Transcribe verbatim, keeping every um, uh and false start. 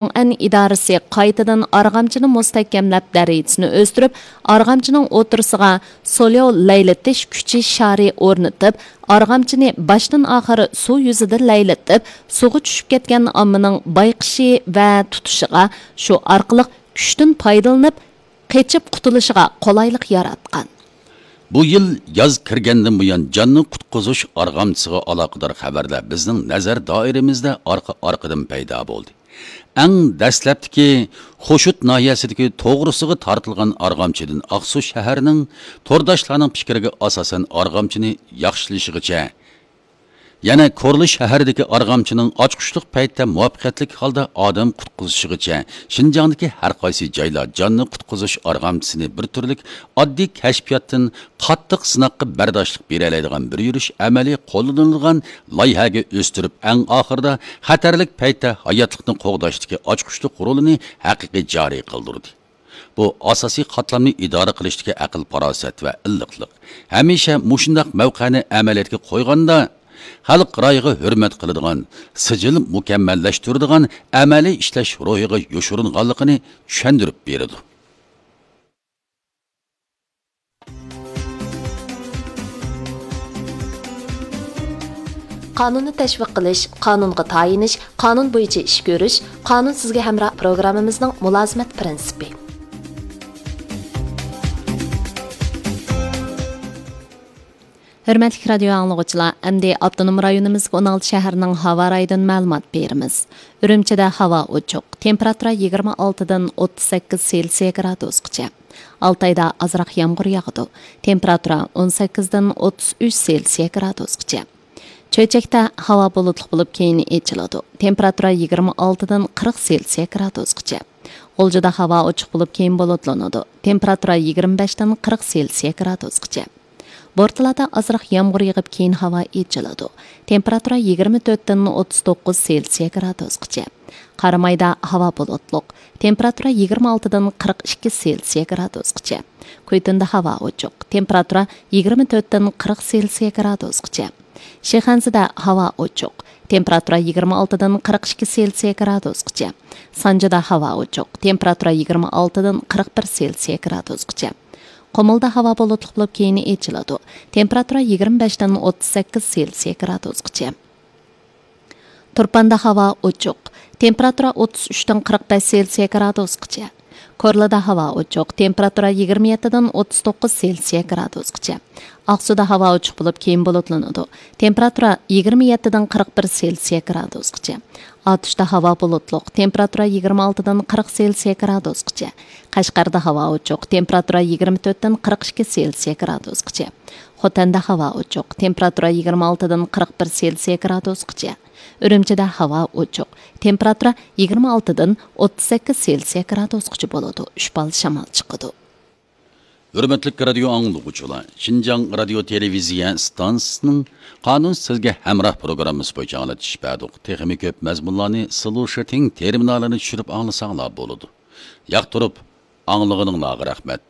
ئەن ئىدارىسى قايتىدىن ئارغامچىنى مۇستەھكەملەپ، دەرىجىسىنى ئۆستۈرۈپ، ئارغامچىنىڭ ئوتتۇرىسىغا سولياۋ لەيلىتىش كۈچى شارى ئورنىتىپ، ئارغامچىنى باشتىن ئاخىر سۇ يۈزىدە لەيلىتىپ، سۇغا چۈشۈپ كەتكەن ئاممىنىڭ بايقىشى ۋە تۇتۇشىغا، شۇ ئارقىلىق كۈچتىن پايدىلىنىپ، قېچىپ قۇتۇلۇشىغا قولايلىق ياراتقان. بۇ يىل ياز كىرگەندىن بۇيان، جاننى قۇتقۇزۇش ئارغامچىسىغا ئالاقىدار خەۋەرلەر بىزنىڭ نەزەر دائىرىمىزدە ئارقا-ئارقىدىن پەيدا بولدى. ئەڭ دەسلەپتىكى خوشۇت ناھىيەسىدىكى توغرىسىغا تارتىلغان ئارغامچىدىن ئاقسۇ شەھىرىنىڭ تورداشلارنىڭ پىكرىگە ئاساسەن ئارغامچىنى ياخشىلىشىغىچە، يەنە كورلا شەھىرىدىكى ئارغامچىنىڭ ئاچقۇچلۇق پەيتتە مۇۋەپپەقىيەتلىك ھالدا ئادەم قۇتقۇزۇشىغىچە، شىنجاڭدىكى ھەر قايسى جايلار جاننى قۇتقۇزۇش ئارغامچىسىنى بىر تۈرلۈك ئاددىي كەشپىياتتىن قاتتىق سىناققا بەرداشلىق بېرەلەيدىغان بىر يۈرۈش ئەمەلىي قوللىنىلىدىغان لايىھەگە ئۆستۈرۈپ، ئەڭ ئاخىرىدا خەتەرلىك پەيتتە ھاياتلىقنى قوغداشتىكى ئاچقۇچلۇق رولىنى ھەقىقىي جارى قىلدۇردى. بۇ ئاساسىي قاتلامنى ئىدارە قىلىشتىكى ئەقىل-پاراسەت ۋە ئىللىقلىق، ھەمىشە مۇشۇنداق مەۋقەنى ئەمەلىيەتكە قويغاندا، خەلق رايىغا ھۆرمەت قىلىدىغان، سىجىل مۇكەممەللەشتۈرىدىغان ئەمەلىي ئىشلەش روھىغا يوشۇرۇنغانلىقىنى چۈشەندۈرۈپ بېرىدۇ. قانۇننى تەشۋىق قىلىش، قانۇنغا تايىنىش، قانۇن بويىچە ئىش كۆرۈش، قانۇن سىزگە ھەمراھ پروگراممىمىزنىڭ مۇلازىمەت پىرىنسىپى. ھۆرمەتلىك رادىيو ئاڭلىغۇچىلار، ئەمدى ئاپتونوم رايونىمىزدىكى ئون ئالتە شەھەرنىڭ ھاۋا رايىدىن مەلۇمات بېرىمىز. ئۈرۈمچىدە ھاۋا ئوچۇق، تېمپېراتۇرا يىگىرمە ئالتىدىن ئوتتۇز سەككىز سېلسىيە گرادۇسقىچە. ئالتايدا ئازراق يامغۇر ياغىدۇ، تېمپېراتۇرا ئون سەككىزدىن ئوتتۇز ئۈچ سېلسىيە گرادۇسقىچە. چۆچەكتە ھاۋا بۇلۇتلۇق بولۇپ، كېيىن ئېچىلىدۇ، تېمپېراتۇرا يىگىرمە ئالتىدىن قىرىق سېلسىيە گرادۇسقىچە. غۇلجىدا ھاۋا ئوچۇق بولۇپ، كېيىن بۇلۇتلىنىدۇ، تېمپېراتۇرا يىگىرمە بەشتىن قىرىق سېلسىيە گرادۇسقىچە. بورتالادا ئازراق يامغۇر يېغىپ، كېيىن ھاۋا ئېچىلىدۇ، تېمپېراتۇرا يىگىرمە تۆتتىن ئوتتۇز توققۇز سېلسىيە گرادۇسقىچە. قارامايدا ھاۋا بۇلۇتلۇق، تېمپېراتۇرا يىگىرمە ئالتىدىن قىرىق ئىككى سېلسىيە گرادۇسقىچە. كۈيتۇندا ھاۋا ئوچۇق، تېمپېراتۇرا يىگىرمە تۆتتىن قىرىق سېلسىيە گرادۇسقىچە. شىخەنزىدە ھاۋا ئوچۇق، تېمپېراتۇرا يىگىرمە ئالتىدىن قىرىق ئىككى سېلسىيە گرادۇسقىچە. سانجىدا ھاۋا ئوچۇق، تېمپېراتۇرا يىگىرمە ئالتىدىن قىرىق بىر سېلسىيە گرادۇسقىچە. قۇمۇلدا ھاۋا بۇلۇتلۇق بولۇپ، كېيىن ئېچىلىدۇ، تېمپېراتۇرا يىگىرمە بەشتىن ئوتتۇز سەككىز سېلسىيە گرادۇسقىچە. تۇرپاندا ھاۋا ئوچۇق، تېمپېراتۇرا ئوتتۇز ئۈچتىن قىرىق بەش سېلسىيە گرادۇسقىچە. كورلىدا ھاۋا ئوچۇق، تېمپېراتۇرا يىگىرمە يەتتىدىن ئوتتۇز توققۇز سېلسىيە گرادۇسقىچە. ئاقسۇدا ھاۋا ئوچۇق بولۇپ، كېيىن بۇلۇتلىنىدۇ، تېمپېراتۇرا يىگىرمە يەتتىدىن قىرىق بىر سېلسىيە گرادۇسقىچە. ئاتۇشتا ھاۋا بۇلۇتلۇق، تېمپېراتۇرا يىگىرمە ئالتىدىن قىرىق سېلسىيە گرادۇسقىچە. قەشقەردە ھاۋا ئوچۇق، تېمپېراتۇرا يىگىرمە تۆتتىن قىرىق ئىككى سېلسىيە گرادۇسقىچە. خوتەندە ھاۋا ئوچۇق، تېمپېراتۇرا يىگىرمە ئالتىدىن قىرىق بىر سېلسىيە گرادۇسقىچە. ئۈرۈمچىدە ھاۋا ئوچۇق، تېمپېراتۇرا يىگىرمە ئالتىدىن ئوتتۇز سەككىز سېلسىيە گرادۇسقىچە بولىدۇ، ئۈچ بال شامال چىقىدۇ. ھۆرمەتلىك رادىيو ئاڭلىغۇچىلار، شىنجاڭ رادىيو تېلېۋىزىيە ئىستانسىسىنىڭ قانۇن سىزگە ھەمراھ پروگراممىسى بويىچە ئاڭلىتىش بەردۇق. تېخىمۇ كۆپ مەزمۇنلارنى سلۇشىتىڭ تېرمىنالىنى چۈشۈرۈپ ئاڭلىساڭلار بولىدۇ. ياقتۇرۇپ ئاڭلىغىنىڭلارغا رەھمەت.